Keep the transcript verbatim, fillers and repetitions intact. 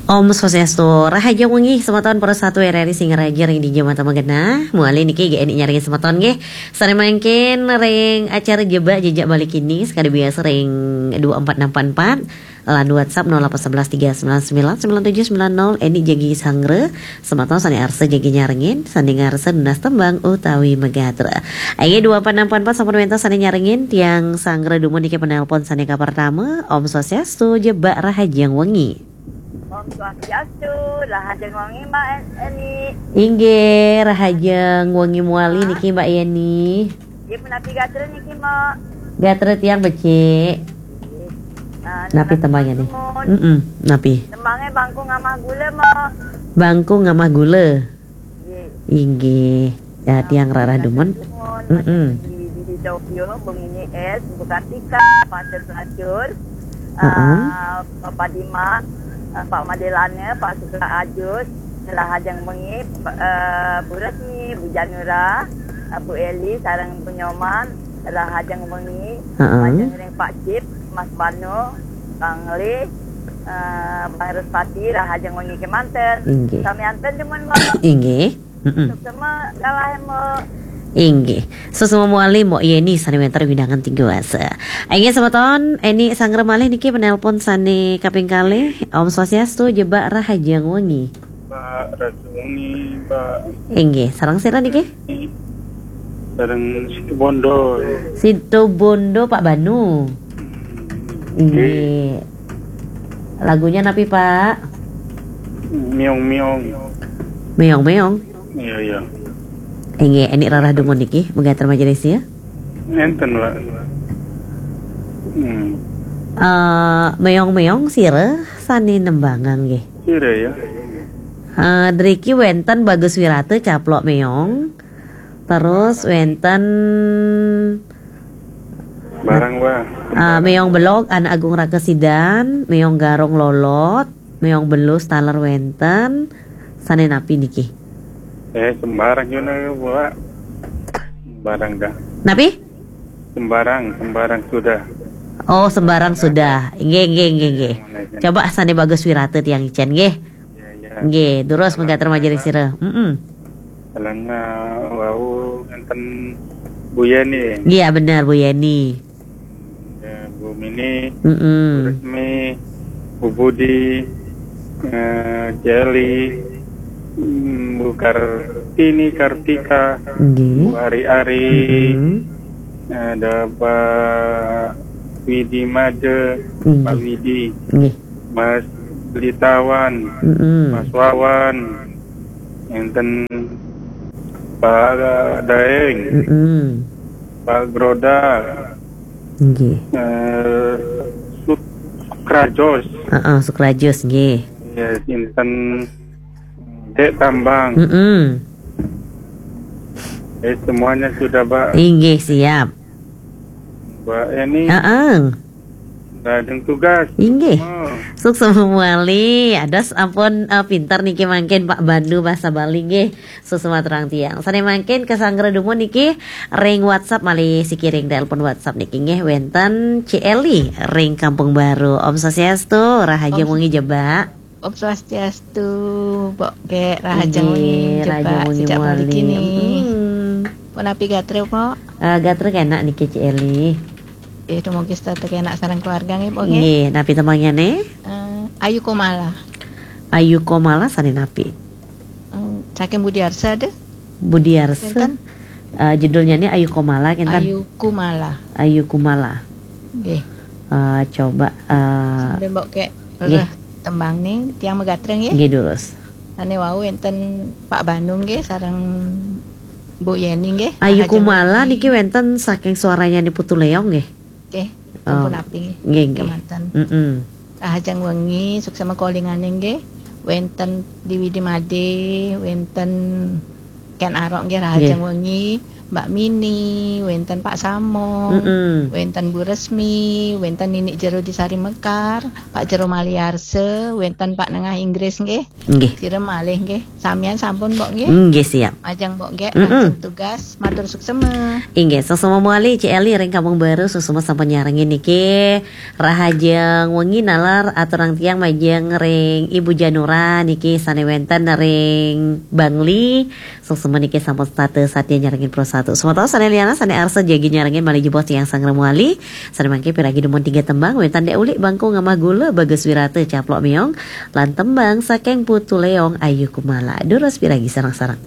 Om Swastiastu, rahajeng wengi semeton para satu R R I Singaraja ring dija mata magenah. Mawali niki Eni nyarengin semeton nggih. Sane mangkin ring acara Jebak Jejak Balik ini, sekadi biasa ring dua empat enam empat empat, lan WhatsApp nol delapan sebelas tiga sembilan sembilan sembilan tujuh sembilan nol, Eni jagi sanggra, semeton sane arsa jagi nyarengin, sane ngarsa nunas tembang utawi magatra. Ayo dua empat enam empat empat sampun wenten sane nyarengin, tiang sanggra dumun niki penelpon sane kapertama, Om Swastiastu, Jebak rahajeng wengi. Om Swastiastu, rahajeng wengi, Mbak En-, Eni. Inggih, rahajeng wengi mawali niki, Mbak Yeni. Nggih, punapi gatra niki, Mbak? Gatra tiang becik. Nggih. Nah, napi tembangnya nih? Nunas nuwun. Mm-mm, napi? Tembangnya Bangku Ngamah Gula, Mbak. Bangku Ngamah Gula. Nggih. Inggih. Ya, tiang rarah dumun. Mm-mm. Di, di, di Tokyo, Bu Mini S, Bu Kartika, Pak Terpelacur, heeh, eh, Bapak Dima, eh, Pak Madelane, Pak Sukra Ajus, rahajeng wengi, eh, Bu Resmi, Bu Janura, eh, Bu Eli, sareng Bu Nyoman, rahajeng wengi, heeh, majeng ring Pak Cip, Mas Bano, Bang Li, eh, Bang Respati, rahajeng wengi kemanten. Inggih. Sami anten dumun, Mbak. Inggih. Mm-mm. Suksma kalahe, Mbok. Inggih. Suksma mawali Mbok Yeni sane wenten wewidangan Tiga Wasa. Inggih semeton, Eni sanggra malih niki penelpon sane kaping kalih. Om Swastiastu, Jebak rahajeng wengi. Pak Rasuni, Pak. Inggih, sareng sira niki? Sareng Situbondo. Situbondo, Pak Banu. Inggih. Lagunya napi, Pak? Miong-miong. Miong-miong. Iya, iya. Inggih, Eni rarah dumun niki, mangga terima kasih ya. Enten, Pak. Hmm. Eh, miong-miong sira sane nembangang nggih. Sira ya. Eh, driki wenten Bagus Wirata Caplok Meong. Terus wenten Barang, Pak. Ah, Meong Belog, Anak Agung Raka Sidan, Meong Garong Lolot, Meong Belus taler wenten, sane napi niki? Eh, sembarang juna, Pak. Sembarang dah. Napi? Sembarang, sembarang sudah. Oh, sembarang sudah. Nggih, nggih, nggih, nggih. Coba sane Bagus Wirata tiang icen nggih. Ya, ya. Nggih, durus mangga terima kasih sira. Mm-mm. Kalengah wau ngenten Bu Yeni. Iya, bener, Bu Yeni. Ya, Bu Mini, mm-mm, Bu Resmi, Bu Budi, eh, Jeli, mm, Bu Kartini, Kartika, nggih, Bu Ari-Ari, mm-mm, ada Pak Widi Made, nggih, Pak Widi, nggih, Mas Belitawan, mm-mm, Mas Wawan, enten Pak Daeng, mm-mm, Pak Groda, nggih, eh, Suk-, Sukrajos. Heeh, Sukrajos, nggih. Ya, enten Dek Tambang. Mm-mm. Eh, semuanya sudah, Mbak. Inggih, siap. Mbak Eni. Heeh. Lajeng tugas. Inggih. Oh. Suksma mawali. Ados ampun, eh, pinter niki mangkin Pak Bandu basa Bali nggih. Suksma terang tiang. Sane mangkin kasanggra dumun niki ring WhatsApp malih siki ring telepon WhatsApp niki nggih wenten Ci Eli ring Kampung Baru. Om Swastiastu, rahajeng wengi Jebak. Om Swastiastu, Mbok Kek, rahajeng wengi Jebak, sejak balik ini. Mm-mm. Punapi gatra, Mbok? Eh, gatra kenak niki Ci Eli. Eh, dumugi setata kenak sareng keluarga nggih, Mbok, nggih? Nggih, napi tembangnye? Eh, Ayu Kumala. Ayu Kumala sane napi? Eh, saking Budi Arsa deh. Budi Arsa. Kinten? Eh, judulnya nih Ayu Kumala, kinten? Ayu Kumala. Ayu Kumala. Nggih. Eh, coba, eh, sambil Mbok Kek, nggih, rereh tembang nih, tiang magatra nggih. Nggih, durus. Sane wau wenten Pak Bandung nggih, sareng Bu Yeni nggih. Ayu Kumala niki wenten saking suaranya nih Putu Leong nggih. Nggih, oh, ampun api nggih, nggih, nggih. Kemanten. Mm-mm. Rahajeng wengi, suksma kalingane nggih. Wenten Dewi Dimade, wenten Ken Arok nggih, rahajeng wengi. Mbak Mini, wénten Pak Samo, Mm-mm. wénten Bu Resmi, wénten Ninik Jero di Sari Mekar, Pak Jero Maliarse, wénten Pak Nengah Inggris nggih. Nggih. Sira malih nggih. Samian sampun Mbok nggih. Nggih siap. Majeng Mbok nggih, Mm-mm. langsung tugas, matur suksema. Inggih, suksema malih Cik Eli ring Kampung Baru, suksema sampun nyarengin niki. Rahajeng wengi nalar aturang tiang majeng ring Ibu Janura niki sané wénten ring Bangli. Suksema niki sampun setata satya nyarengin Pro Satu. Semeton sané lianan sané arsa jagi nyarengin malih jebos tiang sangrem wali. Sané mangke piragi dumun tiga tembang, wénten Dek Ulik Bangku Ngamah Gula, Bagus Wirata Caplok Meong, lan tembang saking Putu Leong Ayu Kumala. Durus piragi sareng-sareng.